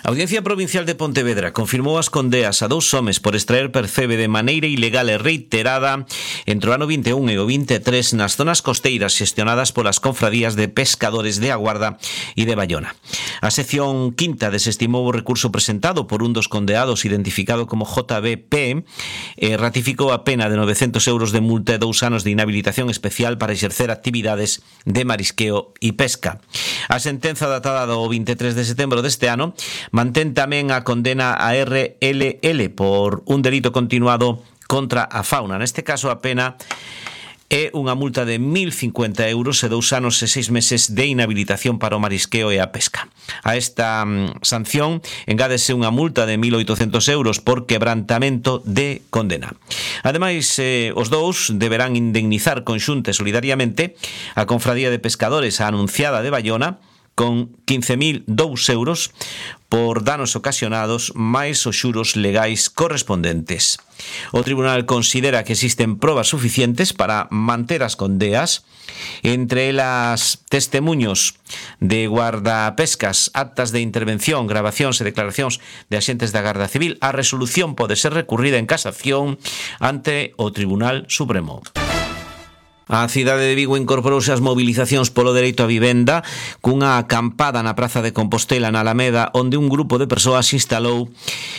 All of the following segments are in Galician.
A Audiencia Provincial de Pontevedra confirmou as condeas a 2 homes por extraer percebe de maneira ilegal e reiterada entre o ano 21 e o 23 nas zonas costeiras xestionadas polas confradías de pescadores de A Guarda e de Baiona. A sección quinta desestimou o recurso presentado por un dos condeados identificado como JBP e ratificou a pena de 900 euros de multa e 2 anos de inhabilitación especial para exercer actividades de marisqueo e pesca. A sentenza datada do 23 de setembro deste ano mantén tamén a condena a RLL por un delito continuado contra a fauna. Neste caso, a pena é unha multa de 1.050 euros e 2 anos e 6 meses de inhabilitación para o marisqueo e a pesca. A esta sanción engádese unha multa de 1.800 euros por quebrantamento de condena. Ademais, os dous deberán indemnizar conxunta e solidariamente a Confradía de Pescadores, a Anunciada de Baiona, con 15.002 euros por danos ocasionados máis os xuros legais correspondentes. O tribunal considera que existen probas suficientes para manter as condeas, entre elas testemuños de guardapescas, actas de intervención, grabacións e declaracións de axentes da Garda Civil. A resolución pode ser recurrida en casación ante o Tribunal Supremo. A cidade de Vigo incorporouse ás mobilizacións polo dereito á vivenda cunha acampada na Praza de Compostela na Alameda, onde un grupo de persoas instalou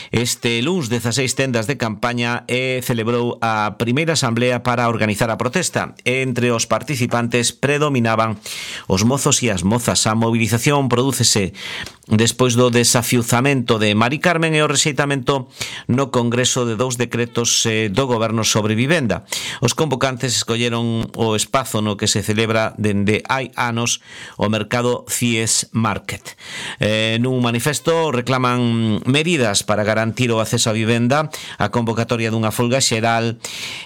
este luns 16 tendas de campaña e celebrou a primeira asamblea para organizar a protesta. Entre os participantes predominaban os mozos e as mozas. A mobilización prodúcese despois do desafiuzamento de Mari Carmen e o rexeitamento no Congreso de 2 decretos do Goberno sobre vivenda. Os convocantes escolleron o espazo no que se celebra dende hai anos o mercado CIES Market. Nun manifesto reclaman medidas para garantir o acceso á vivenda, a convocatoria dunha folga xeral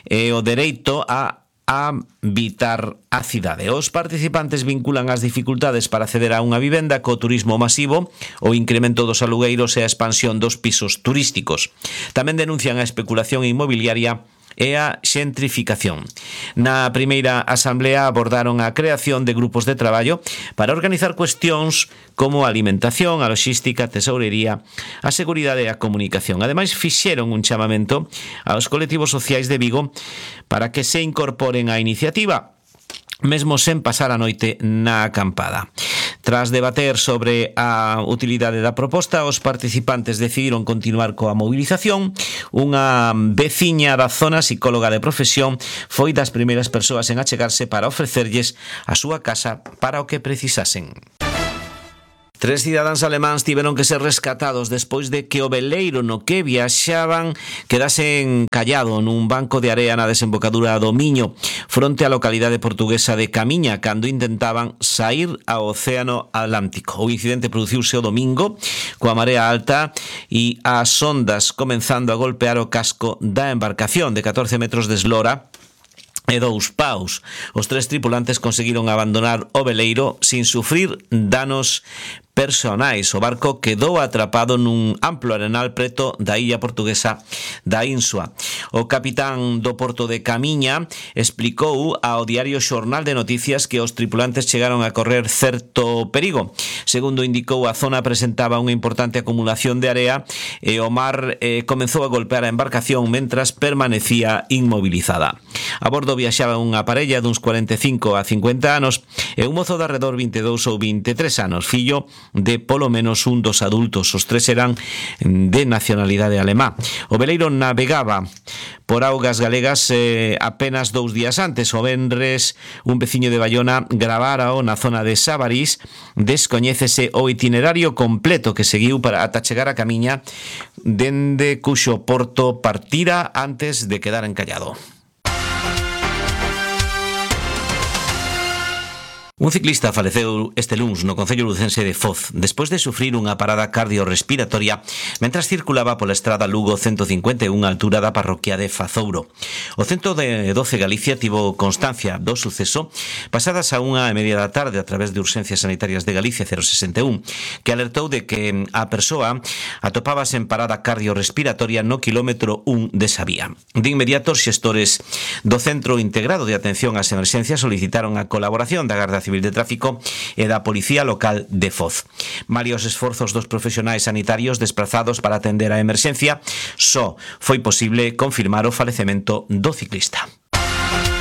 e o dereito a habitar a cidade. Os participantes vinculan as dificultades para acceder a unha vivenda co turismo masivo, o incremento dos alugueiros e a expansión dos pisos turísticos. Tamén denuncian a especulación inmobiliaria e a xentrificación. Na primeira asamblea abordaron a creación de grupos de traballo para organizar cuestións como a alimentación, a logística, a tesourería, a seguridade e a comunicación. Ademais, fixeron un chamamento aos colectivos sociais de Vigo para que se incorporen á iniciativa, mesmo sen pasar a noite na acampada. Tras debater sobre a utilidade da proposta, os participantes decidiron continuar coa movilización. Unha veciña da zona, psicóloga de profesión, foi das primeiras persoas en achegarse para ofrecerlles a súa casa para o que precisasen. 3 cidadáns alemáns tiveron que ser rescatados despois de que o veleiro no que viaxaban quedase encallado nun banco de area na desembocadura do Miño, fronte á localidade portuguesa de Camiña, cando intentaban saír ao Océano Atlántico. O incidente produciuse o domingo, coa marea alta e as ondas comenzando a golpear o casco da embarcación de 14 metros de eslora e 2 paus. Os 3 tripulantes conseguiron abandonar o veleiro sin sufrir danos personais. O barco quedou atrapado nun amplo arenal preto da illa portuguesa da Insua. O capitán do porto de Camiña explicou ao diario Xornal de Noticias que os tripulantes chegaron a correr certo perigo. Segundo indicou, a zona presentaba unha importante acumulación de area e o mar comezou a golpear a embarcación mentras permanecía inmobilizada. A bordo viaxaba unha parella duns 45 a 50 anos e un mozo de arredor 22 ou 23 anos, fillo de polo menos un dos adultos. Os 3 eran de nacionalidade alemá. O veleiro navegaba por augas galegas apenas 2 días antes. O venres, un veciño de Baiona gravárao na zona de Sabarís. Descoñécese o itinerario completo que seguiu para ata chegar a Camiña, dende cuxo porto partira antes de quedar encallado. Un ciclista faleceu este luns no concello lucense de Foz despois de sufrir unha parada cardiorrespiratoria mentras circulaba pola estrada Lugo 151 á altura da parroquia de Fazouro. O 112 Galicia tivo constancia do suceso pasadas a 1:30 da tarde a través de Urxencias Sanitarias de Galicia 061, que alertou de que a persoa atopábase en parada cardiorrespiratoria no kilómetro 1 desa vía. De inmediato, os xestores do Centro Integrado de Atención ás Emerxencias solicitaron a colaboración da Garda Civil Civil de Tráfico e da Policía Local de Foz. Malia os esforzos dos profesionais sanitarios desprazados para atender a emerxencia, só foi posible confirmar o falecemento do ciclista.